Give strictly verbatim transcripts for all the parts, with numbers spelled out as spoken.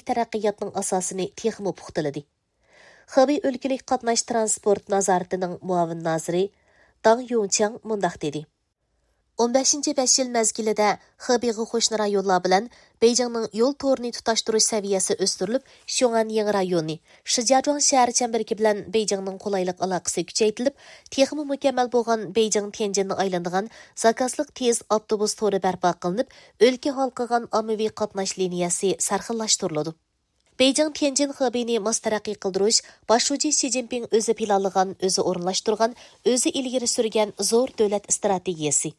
تەرەققىياتنىڭ ئاساسىنى تېخىمۇ پۇختىلىدى. خېبېي ئۆلكىلىك قاتناش تىرانسپورت نازارىتىنىڭ مۇئاۋىن نازىرى داڭ يۇڭچياڭ مۇنداق دېدى: ئون بەشىنچى بەش يىل مەزگىلىدە خېبېيغا قوشنا رايونلار بىلەن بېيجىڭنىڭ يول تورىنى تۇتاشتۇرۇش سەۋىيەسى ئۆستۈرۈلۈپ، شيۇڭئەن يېڭى رايونى، شىجياجۇاڭ شەھەر چەمبىرىكى بىلەن بېيجىڭنىڭ قولايلىق ئالاقىسى كۈچەيتىلىپ، تېخىمۇ مۇكەممەل بولغان بېيجىڭ تيەنجىننى ئايلىنىدىغان زاكازلىق تېز ئاپتوبۇس تورى بەرپا قىلىنىپ، ئۆلكە ھالقىغان ئاممىۋى قاتناش لىنىيەسى سەرخىللاشتۇرۇلىدۇ. بېيجىڭ تيەنجىن خېبېينى ماس تەرەققىي قىلدۇرۇش باش شۇجى شى جىنپىڭ ئۆزى پىلانلىغان، ئۆزى ئورۇنلاشتۇرغان، ئۆزى ئىلگىرى سۈرگەن زور دۆلەت ئىستراتېگىيەسى.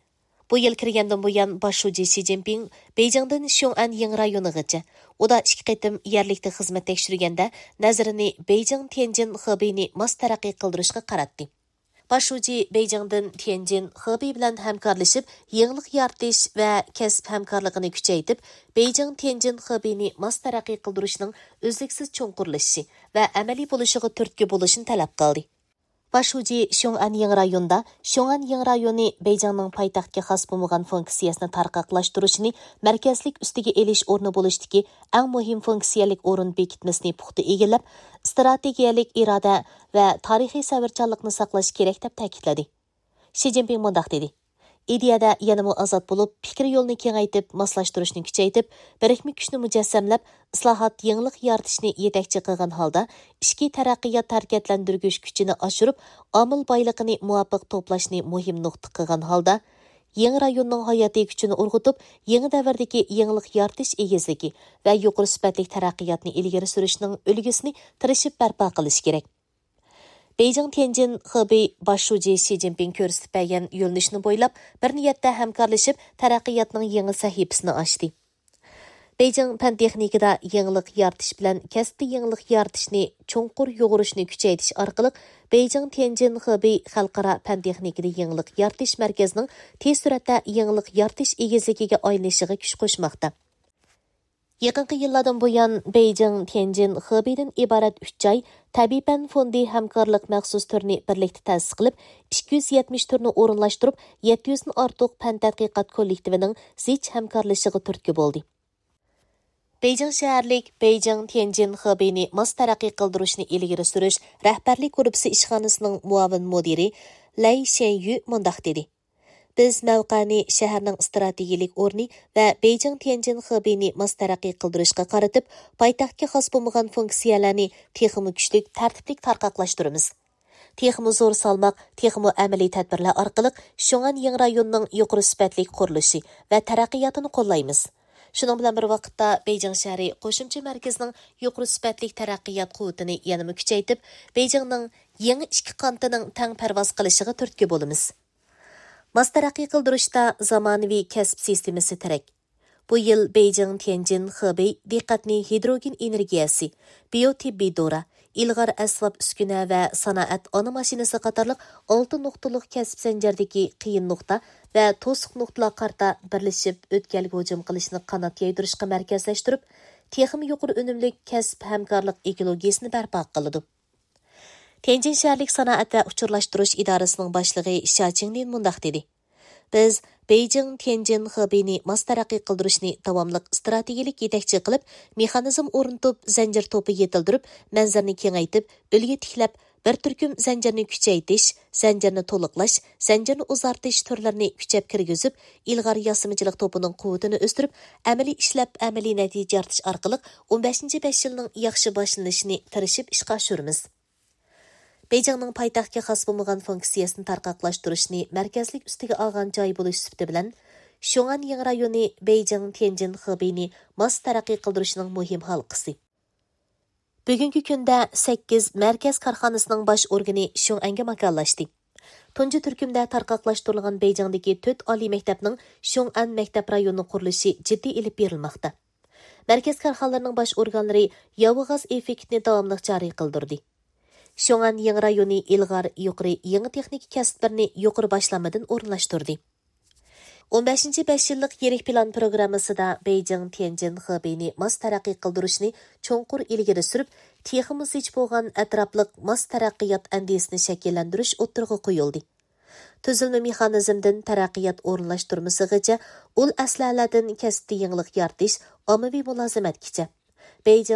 بۇ يىل كىرگەندىن بۇيان، باش شۇجى شى جىنپىڭ بېيجىڭدىن شيۇڭئەن يېڭى رايونىغىچە ئۇدا ئىككى قېتىم يەرلىكتە خىزمەت تەكشۈرگەندە، نەزىرىنى بېيجىڭ تيەنجىن خېبېينى ماس تەرەققىي قىلدۇرۇشقا قاراتتى. باش شۇجى بېيجىڭدىن تيەنجىن خېبېي بىلەن ھەمكارلىشىپ، يېڭىلىق يارىتىش ۋە كەسىپ ھەمكارلىقىنى كۈچەيتىپ، بېيجىڭ تيەنجىن خېبېينى ماس تەرەققىي قىلدۇرۇشنىڭ ئۈزلۈكسىز چوڭقۇرلىشىشى ۋە ئەمەلىي بولۇشىغا تۈرتكە بولۇشنى تەلەپ قىلدى. باش شۇجى شيۇڭئەن يېڭى رايونىدا، شيۇڭئەن يېڭى رايونى بېيجىڭنىڭ پايتەختكە خاس بولمىغان فۇنكسىيەسىنى تارقاقلاشتۇرۇشنى مەركەزلىك ئۈستىگە ئېلىش ئورنى بولۇشتىكى ئەڭ مۇھىم فۇنكسىيەلىك ئورۇن بېكىتمىسىنى پۇختا ئىگىلەپ، ئىستراتېگىيەلىك ئىرادە ۋە تارىخىي سەۋرچانلىقنى ساقلاش كېرەك، دەپ تەكىتلىدى. شى جىنپىڭ مۇنداق دېدى: ئىدىيەدە يەنىمۇ ئازاد بولۇپ، پىكىر يولىنى كېڭەيتىپ، ماسلاشتۇرۇشنى كۈچەيتىپ، بىرىكمە كۈچنى مۇجەسسەملەپ، ئىسلاھات، يېڭىلىق يارىتىشنى يېتەكچى قىلغان ھالدا، ئىچكى تەرەققىيات ھەرىكەتلەندۈرگۈچ كۈچىنى ئاشۇرۇپ، ئامىل بايلىقىنى مۇۋاپىق توپلاشنى مۇھىم نۇقتا قىلغان ھالدا، يېڭى رايوننىڭ ھاياتىي كۈچىنى ئۇرغۇتۇپ، يېڭى دەۋردىكى يېڭىلىق يارىتىش ئېگىزلىكى ۋە يۇقىرى سۈپەتلىك تەرەققىياتنى ئىلگىرى سۈرۈشنىڭ ئۈلگىسىنى تىرىشىپ بەرپا قىلىش كېرەك. بېيجىڭ تيەنجىن خېبېي باش شۇجى شى جىنپىڭ كۆرسىتىپ بەرگەن يۆنىلىشنى بويلاپ، بىر نىيەتتە ھەمكارلىشىپ، تەرەققىياتنىڭ يېڭى سەھىپىسىنى ئاچتى. بېيجىڭ پەن تېخنىكىدا يېڭىلىق يارىتىش بىلەن كەسىپتە يېڭىلىق يارىتىشنى چوڭقۇر يۇغۇرۇشنى كۈچەيتىش ئارقىلىق، بېيجىڭ تيەنجىن خېبېي خەلقئارا پەن تېخنىكىدا يېڭىلىق يارىتىش مەركىزىنىڭ تېز سۈرئەتتە يېڭىلىق يارىتىش ئېگىزلىكىگە ئايلىنىشىغا كۈچ قوشماقتا. يېقىنقى يىللاردىن بۇيان، بېيجىڭ تيەنجىن خېبېيدىن ئىبارەت ئۈچ جاي تەبىئىي پەن فوندى ھەمكارلىق مەخسۇس تۈرىنى بىرلىكتە تەسىس قىلىپ، ئىككى يۈز يەتمىش تۈرنى ئورۇنلاشتۇرۇپ، يەتتە يۈزدىن ئارتۇق پەن تەتقىقات كوللېكتىۋىنىڭ زىچ ھەمكارلىشىشىغا تۈرتكە بولدى. بېيجىڭ شەھەرلىك بېيجىڭ تيەنجىن خېبېينى ماس تەرەققىي قىلدۇرۇشنى ئىلگىرى سۈرۈش رەھبەرلىك گۇرۇپپىسى ئىشخانىسىنىڭ مۇئاۋىن مۇدىرى لەي شيەنيۈ مۇنداق دېدى: بىز مەۋقەنى شەھەرنىڭ ئىستراتېگىيەلىك ئورنى ۋە بېيجىڭ تيەنجىن خېبېينى ماس تەرەققىي قىلدۇرۇشقا قارىتىپ، پايتەختكە خاس بولمىغان فۇنكسىيەلەرنى تېخىمۇ كۈچلۈك، تەرتىپلىك تارقاقلاشتۇرىمىز. تېخىمۇ زور سالماق، تېخىمۇ ئەمەلىي تەدبىرلەر ئارقىلىق شيۇڭئەن يېڭى رايونىنىڭ يۇقىرى سۈپەتلىك قۇرۇلۇشى ۋە تەرەققىياتىنى قوللايمىز. شۇنىڭ بىلەن بىر ۋاقىتتا، بېيجىڭ شەھىرى قوشۇمچە مەركىزىنىڭ يۇقىرى سۈپەتلىك تەرەققىيات قۇۋۋىتىنى يەنىمۇ كۈچەيتىپ، بېيجىڭنىڭ يېڭى ئىككى قانىتىنىڭ تەڭ پەرۋاز قىلىشىغا تۈرتكە بولىمىز. ماس تەرەققىي قىلدۇرۇشتا زامانىۋى كەسىپ سىستېمىسى تىرەك. بۇ يىل بېيجىڭ تيەنجىن خېبېي دىققەتنى ھىدروگېن ئېنېرگىيەسى، بىيو تېببىي دورا، ئىلغار ئەسۋاب ئۈسكۈنە ۋە سانائەت ئانا ماشىنىسى قاتارلىق ئالتە نۇقتىلىق كەسىپ زەنجىرىدىكى قىيىن نۇقتا ۋە توسۇق نۇقتىلارغا قارىتا بىرلىشىپ ئۆتكەلگە ھۇجۇم قىلىشنى قانات يايدۇرۇشقا مەركەزلەشتۈرۈپ، تېخىمۇ يۇقىرى ئۈنۈملۈك كەسىپ ھەمكارلىق ئېكولوگىيەسىنى بەرپا قىلىدۇ. تيەنجىن شەھەرلىك سانائەت ۋە ئۇچۇرلاشتۇرۇش ئىدارىسىنىڭ باشلىقى شيا چىڭلىن مۇنداق دېدى: بىز بېيجىڭ تيەنجىن خېبېينى ماس تەرەققىي قىلدۇرۇشنى داۋاملىق ئىستراتېگىيەلىك يېتەكچى قىلىپ، مېخانىزم ئورنىتىپ، زەنجىر توپى يېتىلدۈرۈپ، مەنزىرىنى كېڭەيتىپ، ئۈلگە تىكلەپ، بىر تۈركۈم زەنجىرنى كۈچەيتىش، زەنجىرنى تولۇقلاش، زەنجىرنى ئۇزارتىش تۈرلىرىنى كۈچەپ كىرگۈزۈپ، ئىلغار ياسىمىچىلىق توپىنىڭ قۇۋۋىتىنى ئۆستۈرۈپ، ئەمەلىي ئىشلەپ، ئەمەلىي نەتىجە يارىتىش ئارقىلىق ئون بەشىنچى بەش يىلنىڭ ياخشى باشلىنىشىنى تىرىشىپ ئىشقا ئاشۇرىمىز. بېيجىڭنىڭ پايتەختكە خاس بولمىغان فۇنكسىيەسىنى تارقاقلاشتۇرۇشنى مەركەزلىك ئۈستىگە ئالغان جاي بولۇش سۈپىتى بىلەن، شيۇڭئەن يېڭى رايونى بېيجىڭ تيەنجىن خېبېينى ماس تەرەققىي قىلدۇرۇشنىڭ مۇھىم ھالقىسى. بۈگۈنكى كۈندە سەككىز مەركەز كارخانىسىنىڭ باش ئورگىنى شيۇڭئەنگە ماكانلاشتى. تۇنجى تۈركۈمدە تارقاقلاشتۇرۇلغان بېيجىڭدىكى تۆت ئالىي مەكتەپنىڭ شيۇڭئەن مەكتەپ رايونىنىڭ قۇرۇلۇشى جىددىي ئېلىپ بېرىلماقتا. مەركەز كارخانىلىرىنىڭ باش ئورگانلىرى ياۋا غاز ئېففېكتىنى داۋاملىق جارى قىلدۇردى. شيۇڭئەن يېڭى رايونى ئىلغار يۇقىرى يېڭى تېخنىكا كەسىپلىرىنى يۇقىرى باشلانمىدىن ئورۇنلاشتۇردى. ئون بەشىنچى بەش يىللىق يىرىك پىلان پروگراممىسىدا بېيجىڭ تيەنجىن خېبېينى ماس تەرەققىي قىلدۇرۇشنى چوڭقۇر ئىلگىرى سۈرۈپ، تېخىمۇ زىچ بولغان ئەتراپلىق ماس تەرەققىيات ئەندىزىسىنى شەكىللەندۈرۈش ئوتتۇرىغا قويۇلدى. تۈزۈلمە مېخانىزمدىن تەرەققىيات ئورۇنلاشتۇرمىسىغىچە، ئۇل ئەسلىھەلەردىن كەسىپتە يېڭىلىق يارىتىش، ئاممىۋى مۇلازىمەتكىچە، بېيجىڭ